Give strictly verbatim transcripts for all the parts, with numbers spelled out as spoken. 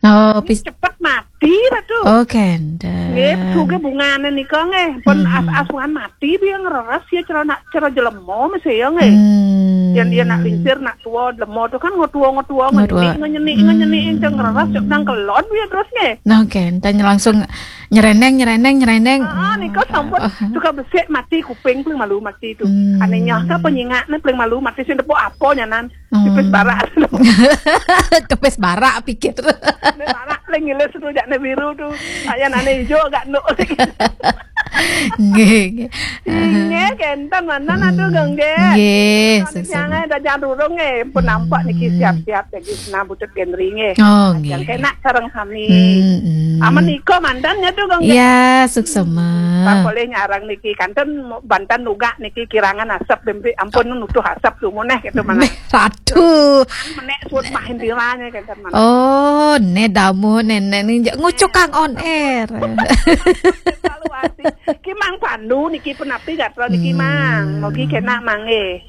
Oh, pis- Cepet mati lah tu. Oh, kenten. Nggih, suge bungane nika nggih. Pun Hmm. as-as bungan mati biar ngereres ya cara nak cara jelema mesti ya nggih. Hmm. Yang dia nak lingsir, nak tua, jelema tu kan ngotua-ngotua, Ngotua. ngenik, ngenik, ngenik, ngenik, yang ngereres, yang nang kelon biar terus nggih. Nah, kenten langsung nyereneng, nyereneng, nyereneng. Ah, nika sampun suka besik mati kuping paling malu mati tu. Hmm. Anehnya apa nyingakne paling malu mati sing tepuk apa nyanan. Hmm. Tipis barak. Kepes barak pikir. Ne barak paling ngilis tu jakne biru tu. Ayan ane ijo agak nuk. Nggih, nggih. Nggih, kenten mantan aduh gengge. Nggih, Kalau sesama. Jangan ada jangan durung nggih. Pun nampak niki siap-siap jadi senang butut genri nggih. Oh, Yang nggih. kena sareng sami. Hmm, hmm. Aman iko mantan ya tu gengge. Ya, suksema. Bang boleh nyarang niki kanten bantan nugak niki kirangan asap bembe ampun nutuh asap tu muneh gitu mana. Ratu. Menek suut mahin diranya kenten mana. Oh, ne damu nenek ni ngucukang on air. Evaluasi. Ki Mang Pandu niki penapi gatra niki Hmm. Mang. Mogi kena mangge.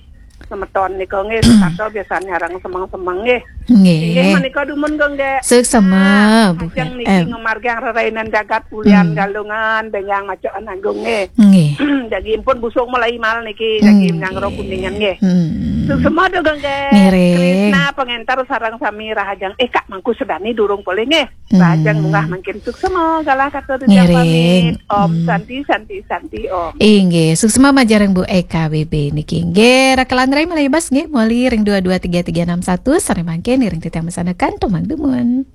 Semeton nika nggih setato biasanya arang semeng-semeng nggih. Nggih Nggih. Menika dumun gengge. Suksema, Bu Ajeng Em. niki ngemargiang rerainan jagat ulian Hmm. galungan benjang macoan agung nggih. Nggih. Jagi impun busung mulai mal niki jagi Hmm, nyangro nggih. kuningan nggih. Hmm. Semua tu gengge. Ngiring. Krisna pengentar sarang sami rahajeng. Eh Kak Mangku Sedani durung boleh nggih. Hmm. Rahajeng munggah mangkin suksema galah kata tu Ngiring. Pamit. Om Hmm. Santi Santi Santi Om. Inggih, suksema majareng Bu Eka B B niki. Nggih, Raka Landrai malih bas nggih, moli ring dua dua tiga tiga enam satu, sare mangkin ring titiang masanekan tumang dumun.